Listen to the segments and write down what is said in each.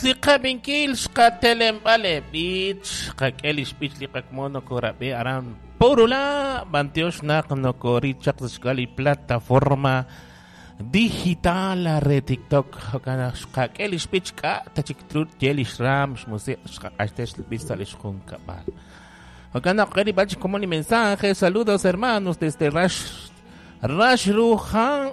Li qab'inkil xqatelemb'al li b'ich, xqak'e li xb'ich li qakomon nokorab'i aran Purula, b'antiox naq nokoril chaq sa' xk'ab'a' li plataforma digital re TikTok. Jo'kan naq xqak'e li xb'ich k'a' ta chik tru ye li xraam xmusiq' xqaq'axtes li b'ich sa' li xjunkab'al. Jo'kan naq qe li b'ach komon li mensaje. Saludos, hermanos, desde Rax Rax Rujan.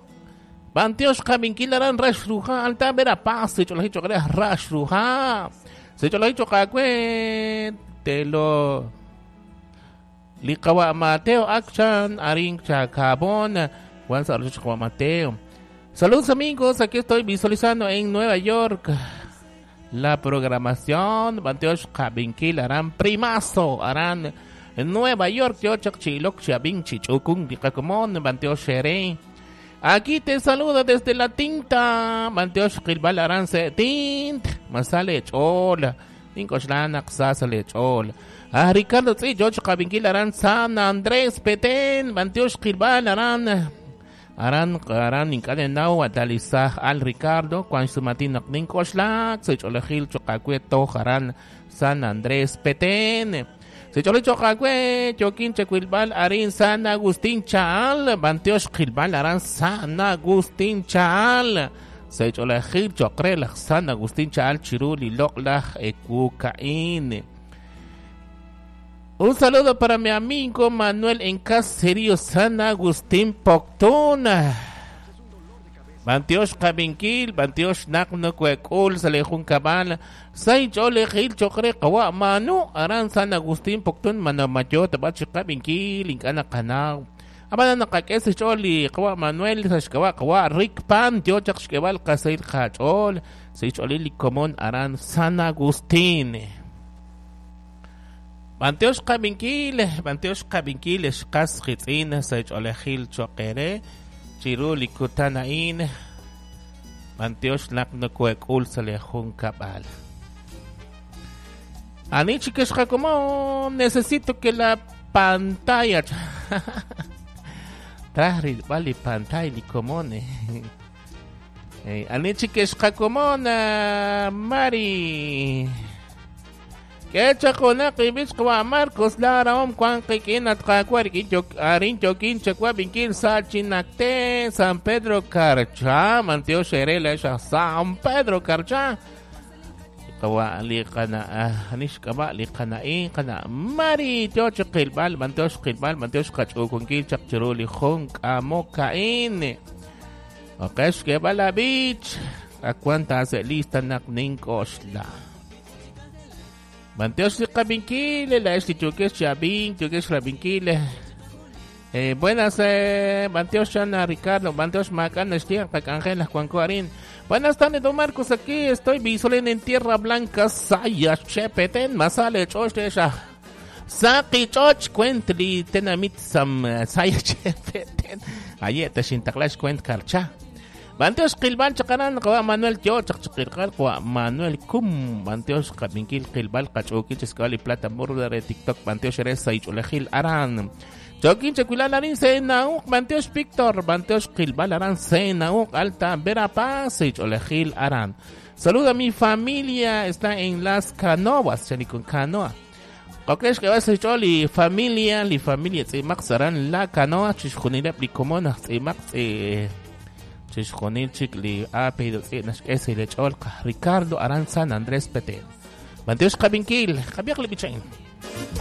B'antiox qab'inkil aran Rax Ruja, Alta Verapaz, sech'olajil cho'q re Rax Ruja. Sech'olajil cho'q aawe telo li qawa' Mateo Akchan arin Chacabón, wan sa' rochoch qawa' Mateo. Saludos, amigos, aquí estoy visualizando en Nueva York la programación. B'antiox qab'inkil aran Primazo, aran Nueva York, yo chaq chi ilok chi ab'ink chi ch'ukunk li qakomon, b'antiox eere. Aquí te saluda desde la tinta, b'antiox qilb'al aran se tint, masale ch'ool, nink'oxla naq sa sa le ch'ool. Ah, Ricardo Tz'i, yo chaq qab'inkil aran San Andrés Petén, b'antiox qilb'al aran aran aran ink'a' ninnaw atalisaj al Ricardo wan xsumatin naq nink'oxlak sa' ch'oolejil cho'q aawe toj aran San Andrés Petén. Sech'olej cho'q aawe yookin chawilb'al arin San Agustín Chaal, b'antiox qilb'al aran San Agustín Chaal. Sech'olejil cho'q re laj San Agustín Chaal chiru li loq'laj ewu ka'in. Un saludo para mi amigo Manuel en Caserío San Agustín Poctún. B'antiox qab'inkil, b'antiox naq nokoek'ul sa' li junkab'al, say ch'oolejil cho'q re qawa' Manu aran San Agustín Poctún manamayo tab'a chi qab'inkil ink'a' naqanaw. Ab'anan naqak'e sa' xch'ool li qawa' Manuel sa' xk'ab'a' qawa' Rick Pan yo chaq xk'eeb'al qasahil qach'ool sa' xch'oolil li komon aran San Agustín. B'antiox qab'inkil, b'antiox qab'inkil xqas qitz'in sa' ch'oolejil cho'q eere chiru li kutan a'in. B'antiox naq nokoek'ul sa' li junkab'al. Ani chik xqakomon, necesito que la pantalla traj rilb'al li pantalla li komon. Ani chik xqakomon, Mari. K'e chaq junaq ib'ich qawa' Marcos laarahom wank qik'in at Qaawa' rik'in arin yookin chawab'inkil sa' Chinacte, San Pedro Carchá. B'antiox eere laa'ex aj San Pedro Carchá. Qawa' li qana' ani xk'ab'a' li qana'in qana' Mari yo chi qilb'al, b'antiox qilb'al, b'antiox qach'uukunkil chaq chiru li jun k'amok a'in. Oqex xk'eeb'al la b'ich ak wan taase' lista naq nink'oxla. B'antiox li qab'inkil, laa'ex li yookex chi ab'ink, yookex rab'inkil. Buenas, b'antiox chan Ricardo, b'antiox maak'a' naxye qak'anjel aj wanko arin. Buenas tardes, don Marcos, aquí estoy visualizando en Tierra Blanca, Saya, Chepeten, Masale, Choch, Sha. Saqi Choch, kwent li tenamit sam Saya Chepeten. Aye, taxintaqlax kwent karcha. B'antiox qilb'al chaq aran qawa' Manuel yo chaq chiqilqal qawa' Manuel Kum, b'antiox qab'inkil qilb'al qach'uukil chi li plata murda re TikTok, b'antiox re saych'olejil aran. Chokin chakwilal arin Senauq, b'antiox Víctor, b'antiox qilb'al aran Senauq, Alta Verapaz, saych'olejil aran. Saluda a mi familia, está en Las Canoas, chani con canoa. Okex k'eb'al sa' xch'ool li familia, li familia tz'imaq saran La Canoa, chixjunileb' li komon aj tz'imaq tz'i chixjunil chik li apellido tz'i naxk'e sa' li ch'ool Ricardo aran San Andrés Petén. B'antiox qab'inkil, qab'iaq li b'ichain.